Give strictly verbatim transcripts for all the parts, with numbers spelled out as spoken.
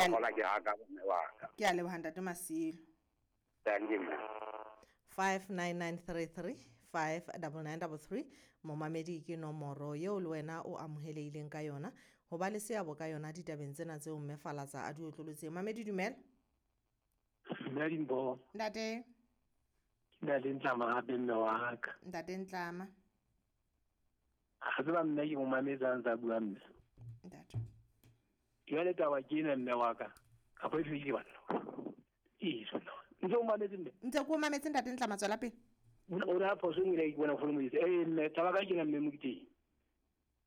Ke a kgola ke haka mme wa ka. Ke a leboha ntate Masilo. Thank you, mme. five nine nine three three five double nine double three momamedi ke nomoro eo le wena o amohelehileng ka yona ho ba le seabo ka yona ditabeng tsena tseo mme Falatsa a di otlolotseng. Mamedi, dumela. Mme Dimpho. Ntate. Ke ntate Ntlama hape mme wa ka. Ntate Ntlama. Ha tseba mme ke mo mametse a ntsa bua mme. Ntate. Jwale taba ke ena mme wa ka. Kapa e fedile banna. Ee, sona. Ntse o mametse mme? Ntse ke o mametse ntate Ntlama, tswela pele. O re ha phoso e nngwe ke bona fono mo itse. Eh mme taba ka ke na mme Moketeng.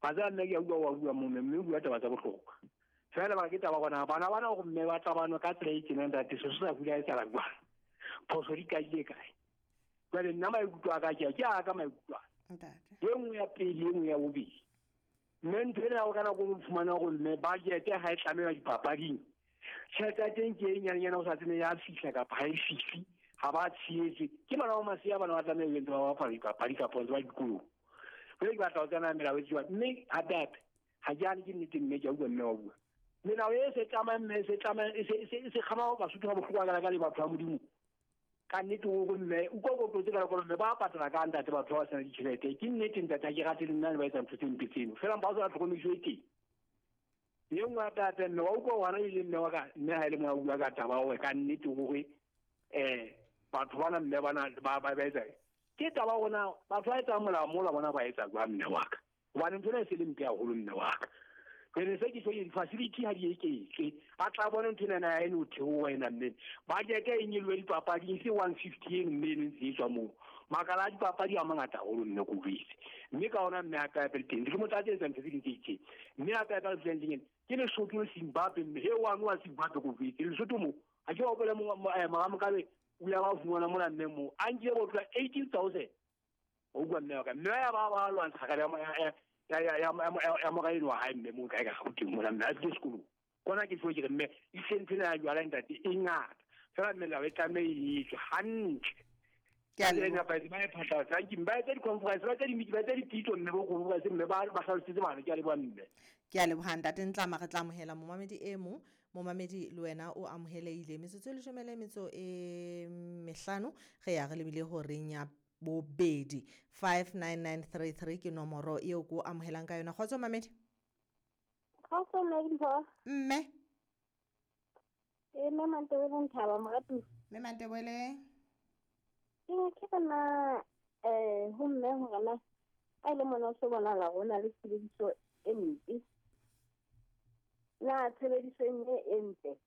Ba tsa nna ke a utlwa wa bua mo mme mme o bua taba tsa bohlokwa. Fela ba ke taba gona bana bana go mme ba tlabano ka tsela e tjena ntate se se sa bula e tsala kwa. Phoso di kaile kae? Jwale nna maikutlo a ka ke a ke a ka maikutlo a. Ntate. E nngwe ya pele e nngwe ya bobedi. Mme ntho ena o kana go fumana go mme budget ha e tlameha dipapading. Tjhelete ya teng ke e nyanenyana o sa tsebe ya fihla kapa ha e fihle. Ha ba tshehetse. Ke bana ba masea bana ba tlameha ho entse ba bapala dipapadi kapa ntse ba dikolong. Jwale ke batla ho tsena melao e tswa mme hape hape ha ke hane ke nnete mme ke a utlwa mme wa bua. Melao e se tlamayang mme e se tlamayang e se e se e se kgama Basotho ha bohloko ka ka le batho ba Modimo. Ka nnete o re mme o kwa go tse ka gore mme ba patala ka ntate batho ba sena ditjhelete. Ke nnete ntate ha ke rate le nna le ba etsa ntho tse mpe tseno. Fela mpa o sa tlhokomediso e teng. E nngwe hape hape mme wa utlwa hona e le mme wa ka mme ha e le mo a bua ka taba hore ka nnete hore eh batho bana mme bana ba ba ba etsa. Ke taba hona batho ba etsang molao mola bona ba etsa jwang mme wa ka. Hobane ntho ena e se le mpe haholo mme wa ka. Jwale se ke tjho di-facility ha di eketswe. A tla bona ntho ena ya eno theoha ena mme. Budget e nyolohe dipapading se one fifty eno mme eno ntse e tswa moo. Makala a dipapadi a mangata haholo mme ko jwetse. Mme ka hona mme hape hape le teng. Dilemo tsa teng tsa ntho tse ding tse itseng. Mme hape hape le teng ke Lesotho le Zimbabwe mme he wa wa Zimbabwe ko jwetse. Lesotho mo ha ke hopola mo mora Mugabe o ile ba fumana mona mme mo a nkile bo tloha eighteen thousand. O bua mme wa ka. Mme ya ba ba lwantsha ka ya ya ya ya ya mora eno wa hae mme mo kae ka Gauteng mona mme a tlile sekolong. Kona ke tlo ke re mme e sentse na jwala ntate e ngata. Fela melao e tlameha e etswe hantle. Ke a leboha. Ba ba e phatlalatsa. Thank you. Ba etse di-conference, ba etse di-meeting, ba etse dipitso mme bo conference mme ba ba hlalosetse bana. Ke a leboha mme. Ke a leboha ntate Ntlama, re tla amohela momamedi e mong. Momamedi le wena o amohelehile. Metsotso e leshome le metso e mehlano re ya re lebile horeng ya bobedi. five nine nine three three ke nomoro eo ko amohelang ka yona. Kgotso mamedi. Kgotso mme Dimpho. Mme. E mme Mantebele Nthaba moratuwa. Mme Mantebele. Ke ne ke bona eh ho mme hore na ha e le mona o se bonahala hore o na le tshebediso e mpe. Na tshebediso e nngwe e ntle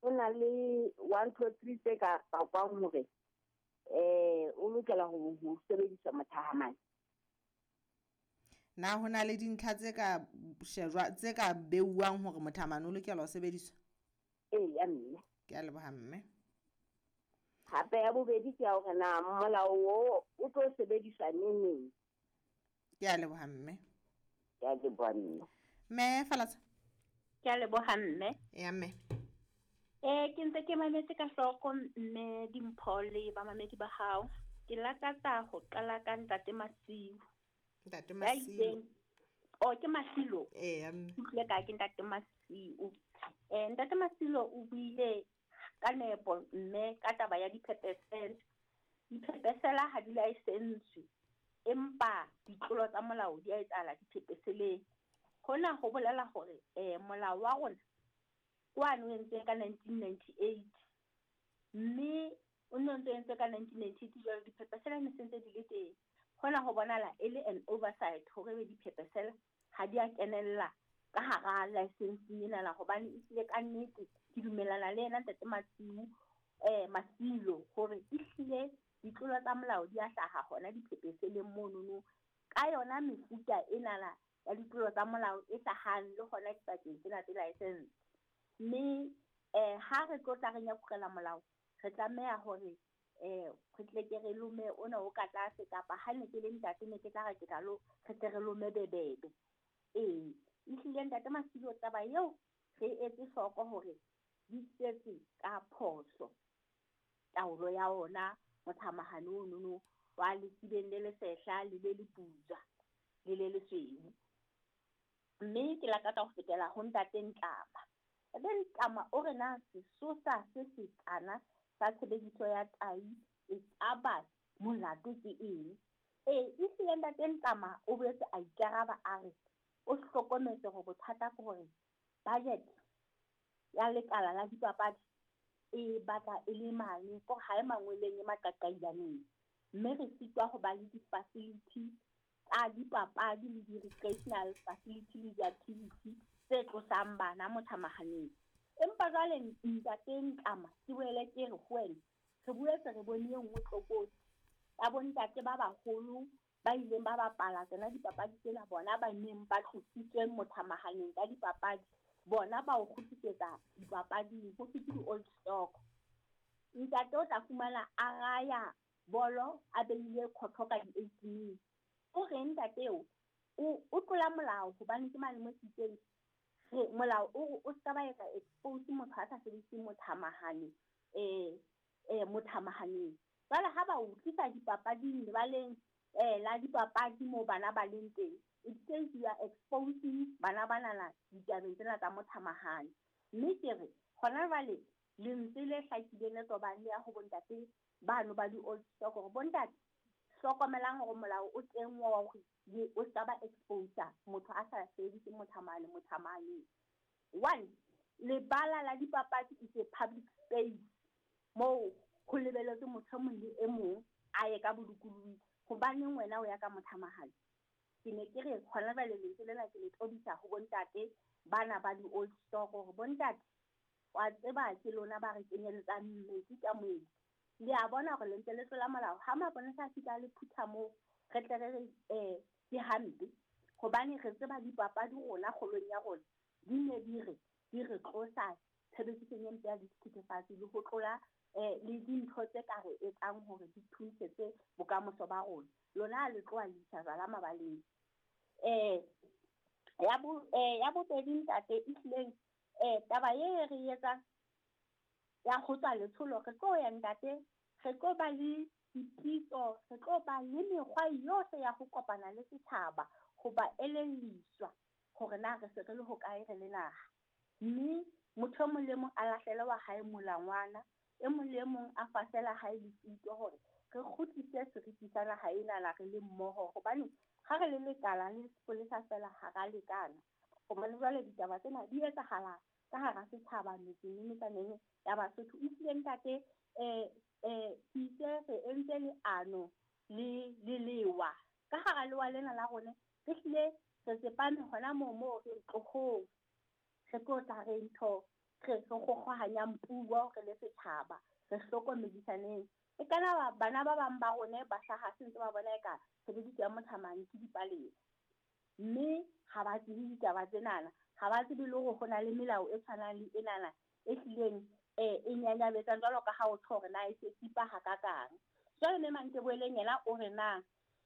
ho na le one two three tse ka pakwang hore eh o lokela ho ho sebedisa mothahamane. Na ho na le dintlha tse ka shejwa tse ka beuwang hore mothahamane o lokela ho sebediswa? Ee, ya mme. Ke a leboha mme. Hape ya bobedi ke ya hore na molao o o tlo sebediswa neng neng. Ke a leboha mme. Ke a leboha mme. Mme Falatsa. Ke a leboha mme. Ya mme. Eh ke ntse ke mametse ka hloko mme Dimpho le bamamedi ba hao. Ke lakatsa ho qala ka ntate Masiu. Ntate Masiu. Oh ke Masilo. Eh ya mme. Ke ka ke ntate Masiu. Eh ntate Masilo o buile ka nepo mme ka taba ya diphepesela. Diphepesela ha di license empa ditlolo tsa molao di a etsahala diphepeseleng. Hona ho bolela hore eh molao wa rona kwano o entswe ka nineteen ninety-eight mme o ne o ntse entswe ka nineteen ninety-eight jwale diphepesela ne se ntse di le teng. Hona ho bonahala e le an oversight hore be diphepesela ha di a kenella ka hara license ena la hobane e tlile ka nnete. Ke dumellana le yena ntate Masiu eh Masilo hore ehlile ditlolo tsa molao di a hlaha hona diphepeseleng monono ka yona mefuta ena la ya ditlolo tsa molao e hlahang le hona dipakeng tsena tse license. Mme eh ha re tlo tla re nyakurela molao re tlameha hore eh re tle ke re lome ona o ka tlase kapa ha ne ke le ntate ne ke tla re ke tla lo re tle re lome bebebe. Ee ehlile ntate Masilo taba eo re etse hloko hore di setse ka phoso taolo ya ona mothamahane ono wa lesibeng le lesehla le le leputswa le le lesweu. Mme ke lakatsa ho fetela ho ntate Ntlama. Ntate Ntlama o re na sesosa se sekana sa tshebediso ya tai e ka ba molato ke eng? Ee, ehlile Ntate Ntlama o boetse a ikaraba a re o hlokometse hore bothata ke hore budget ya lekala la dipapadi e batla e le mane kore ha e mangweleng e maqaqailaneng. Mme re sitwa ho ba le di-facility tsa dipapadi le di-recreational facility le di-activity tse tlosang bana mothamahaneng. Empa jwale Ntate Ntlama ke boele ke re ho wena, re boetse re bone e nngwe tlokotsi ya bontate ba baholo ba ileng ba bapala tsona dipapadi tsena, bona ba neng ba tlositswe mothamahaneng ka dipapadi, bona ba o kgutlisetsa dipapading ho thwe ke di-old stock. Ntate o tla fumana a raya bolo a beile khotho ka di-eighteen. O reng ntate eo o o tlola molao hobane ke mane mo sitseng re molao o re o ska ba etsa expose motho a sa sebediseng mothamahane eh eh mothamahaneng. Jwale ha ba o tlisa dipapading lebaleng eh la dipapadi moo bana ba leng teng, it says you are exposing bana banana ditabeng tsena tsa mothamahane. Mme ke re hona jwale lentswe le hlakileng le tobang le ya ho bontate bano ba di-old stock hore bontate hlokomelang hore molao o teng wa hore o ska ba expose motho a sa sebedise mothamane mothamaneng. One, lebala la dipapadi is a public space moo ho lebelletswe motho e mong le e mong a ye ka bolokolohi. Hobaneng wena o ya ka mothamahane? Ke ne ke re hona jwale lentswe lena ke le tobisa ho bontate bana ba di-old stock hore bontate wa tseba ke lona ba re kenyeletsang metsi ka moedi. Le a bona hore le ntse le tlola molao. Ha maponesa a fihla le phutha moo, re tle re re eh ke hampe hobane re tseba dipapadi rona kgolong ya rona di ne di re di re tlosa tshebedisong e mpe ya dithethefatsi le ho tlola eh le dintho tse ka re etsang hore di thuntshetse bokamoso ba rona. Lona le tloha le isa jwala mabaleng. Eh ya bo eh ya bobedi ntate ehlileng eh taba e re etsang ya ho tswa letsholo re tlo ya ntate, re tlo ba le dipitso, re tlo ba le mekgwa yohle ya ho kopana le setjhaba ho ba elelliswa hore na re se re le hokae re le naha. Mme motho e mong le mong a lahlele wa hae molangwana, e mong le mong a fasela hae lefito hore re kgutlise seriti sa naha enana re le mmoho. Hobane ha re le lekala le sepolesa feela ha ra lekana. Hobane jwale ditaba tsena di etsahala ka hara setjhaba metseng le metsaneng ya Basotho. Ehlile ntate eh eh ke itse re entse leano le le lewa. Ka hara lewa lena la rona re hlile re tsepame hona moo moo re tlohong. Re tlo tla re ntho re re kgokgohanyang puo re le setjhaba, re hlokomedisaneng. E kana ba bana ba bang ba rona ba hlaha se ntse ba bona eka tshebediso ya mothamane ke dipalesa. Mme ha ba tsebe ditaba tsenana, ha ba tsebe le hore ho na le melao e tshwanang le enana e hlileng eh e nyanyabetsang jwalo ka ha o tjho hore na e se tsipa hakakang. Jwale mme Manteboeleng yena o re na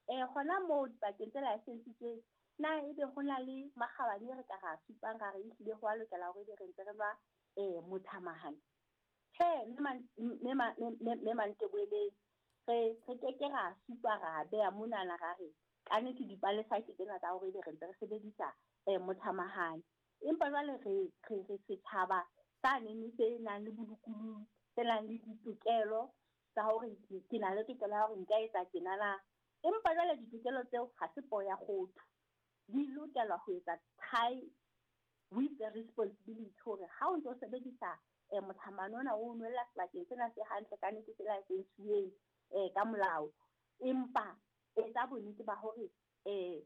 eh hona moo dipakeng tse licensitsweng na ebe ho na le makgabane re ka ra supang ra re ehlile ho a lokela hore ebe re ntse re nwa eh mothamahane. Tjhe, mme mme Manteboeleng re re ke ke ra supa ra beha monana ra re kannete dipalesa ke tsena tsa hore ebe re ntse re sebedisa eh mothamahane. Empa jwale re re re setjhaba sa neng se nang le bolokolohi, se nang le ditokelo tsa hore ke na le tokelo ya hore nka etsa tjenana. Empa jwale ditokelo tseo ha se poo ya kgotho. Di lokela ho etsa tie with the responsibility hore ha o ntso sebedisa eh mothamane ona o nwella sebakeng sena se hantle ka nnete se license-uweng eh ka molao, empa etsa bonnete ba hore eh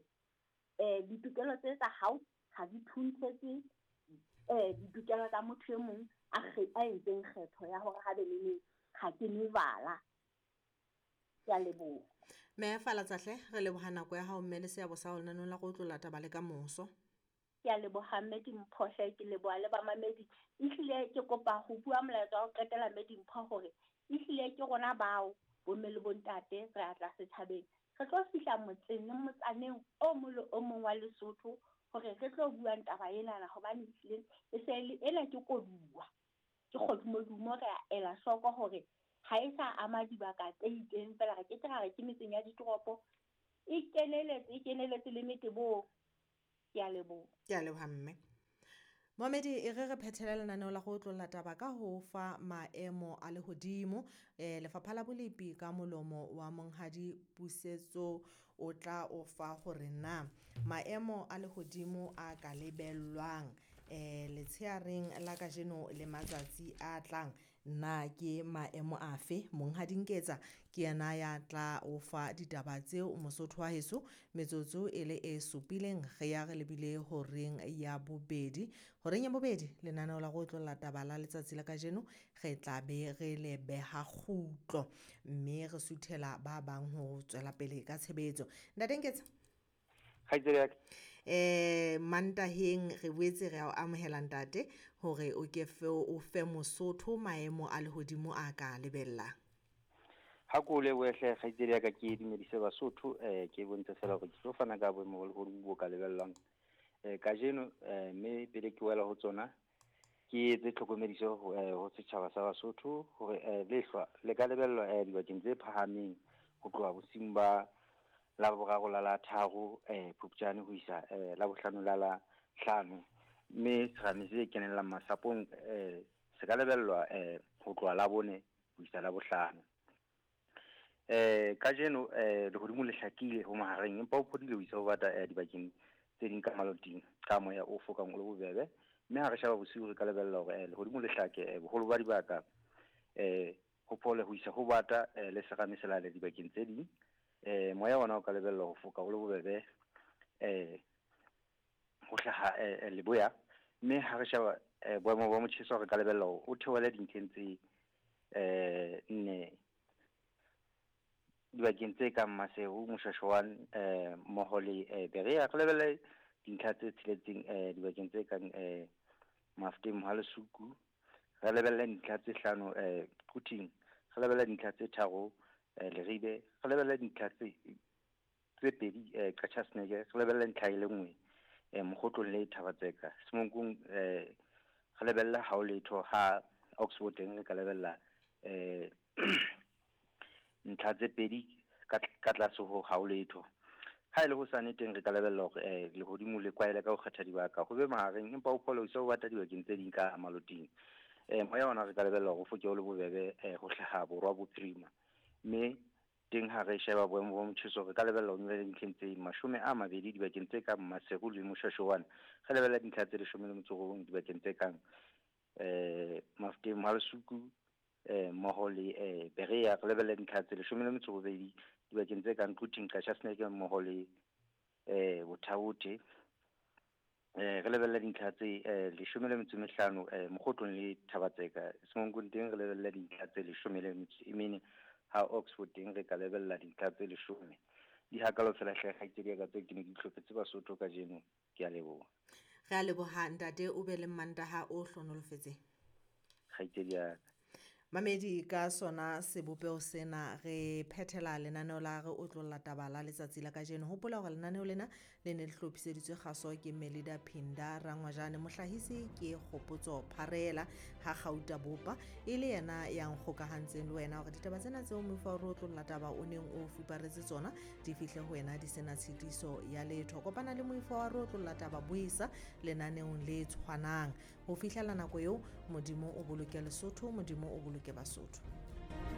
eh ditokelo tse tsa hao ha di thuntshetse eh ditokelo tsa motho e mong a a entseng kgetho ya hore ha be le neng ha ke nwe jwala. Ke a leboha. Mme Falatsahle, re leboha nako ya hao mme le seabo sa ho lenaneo la go tlola taba le ka moso. Ke a leboha mme Dimpho hle, ke leboha le bamamedi. Ehlile ke kopa ho bua molaetsa wa ho qetela mme Dimpho hore ehlile ke rona bao bomme le bontate re a tla setjhabeng. Re tlo fihla motseng le motsaneng o mong le o mong wa Lesotho hore re tlo buang taba enana hobane ehlile e se le ena ke koduwa. Ke kgodumodumo re a ela hloko hore ha e sa ama dibaka tse itseng fela, re ke ke ra re ke metseng ya ditoropo e keneletse, e keneletse le metebong. Ke a leboha. Ke a leboha mme. Momedi e re re phethele lenaneo la go otlolla taba ka ho fa maemo a lehodimo. Eh, Lefapha la Bolepi ka molomo wa Monghadi Pusetso o tla o fa hore na maemo a lehodimo a ka lebellwang eh letsheareng la kajeno le matsatsi a tlang na ke maemo afe. Monghadi Nketsa ke yena ya tla o fa ditaba tseo Mosotho wa heso metsotso e le e supileng re ya re lebile horeng ya bobedi. Horeng ya bobedi lenaneo la go otlolla taba la letsatsi la kajeno re tla be re le beha kgutlo mme re suthela ba bang ho tswela pele ka tshebetso. Ntate Nketsa Kgaitsedi ya ka. Eh Mantaheng re boetse re a o amohela ntate hore o ke fe o fe Mosotho maemo a lehodimo a ka lebellang. Ha ko lebohe hle kgaitsedi ya ka, ke dumedise Basotho, eh ke bontshe fela hore ke tlo fana ka boemo ba lehodimo bo ka lebellwang eh kajeno, eh mme pele ke wela ho tsona ke etse tlhokomediso ho, eh, ho setjhaba sa Basotho hore eh, lehlwa le ka lebellwa eh, dibakeng tse phahameng ho tloha bosiung ba la boraro la la tharo eh Phupjane ho isa eh, la bohlano la la hlano, mme serame se kenellang masapong eh se ka lebellwa eh ho tloha la bone ho isa la bohlano. Eh kajeno eh lehodimo le hlakile ho mahareng, empa ho phodile ho isa ho bata eh, dibakeng tse ding ka maloting ka moya o fokang o le bobebe, mme ha re sheba bosiu re ka lebella hore eh, lehodimo le hlake eh, boholo ba dibaka eh ho phole ho isa ho bata eh, le serame se lale dibakeng tse ding. Eh moya ona o ka lebella ho foka o le bobebe eh ho hlaha eh, leboya, mme ha re sheba eh, boemo ba motjheso re ka lebella hore o theohele dintlheng tse eh nne dibakeng tse kang Maseru, Moshwashwane eh mmoho le eh, Berea. Re lebelle dintlha tse tsheletseng eh dibakeng tse kang eh Mafteng, Mohalesuku. Re lebelle dintlha tse hlano eh Quthing, re lebelle dintlha tse tharo eh, Leribe, re lebelle dintlha tse tse pedi eh Qacha's Nek, re lebelle ntlha e le nngwe eh Mokgotlong le Thaba-Tseka. Semonkong eh re lebella ha o letho, ha Oxford teng re ka lebella eh ntlha tse pedi ka ka tlase ho ha o letho. Ha e le hosane teng re ka lebella hore eh, lehodimo le kwaele ka ho kgetha dibaka ho be mahareng, empa ho phole ho isa ho bata dibakeng tse ding ka maloting. Eh moya ona re ka lebella hore o foke o le bobebe eh, ho hlaha borwa bophirima, mme teng ha re sheba boemo ba motjheso re ka lebella ho nyolla dintlheng tse mashome a mabedi dibakeng tse kang Maseru le Moshwashwane. Re lebella dintlha tse leshome le metso e robong dibakeng tse kang eh Mafteng, Mohalesuku eh mmoho le eh Berea. Re lebella dintlha tse leshome le metso e robedi dibakeng tse kang Quthing, Qacha's Nek mmoho le eh Bothabote. Eh re lebella dintlha tse eh leshome le metso e mehlano eh Mokgotlong le Thaba-Tseka. Semonkong teng re lebella dintlha tse leshome le metso e mene, ha Oxford teng re ka lebella dintlha tse leshome. Di hakalo fela hle kgaitsedi ya ka tseo ke ne ke itlhophetse Basotho kajeno. Ke a leboha. Re a leboha ntate, o be le Mantaha o hlonolofetseng. Kgaitsedi ya ka. Mamedi, ka sona sebopeho sena re phethela lenaneo la re otlolla taba la letsatsi la kajeno. Hopola hore lenaneo lena le ne le hlophiseditswe kgaso ke Melida Phinda Rangwajane, mohlahisi ke Kgopotso Pharela ha Gauta Bopa e le yena ya nkgokahantseng le wena hore ditaba tsena tseo mofa re otlolla taba o neng o fuparetse tsona di fihle ho wena di sena tshitiso ya letho. Kopana le moifo wa re otlolla taba buisa lenaneong le tshwanang. Ho fihlela nako eo, Modimo o boloke Lesotho, Modimo o boloke Basotho.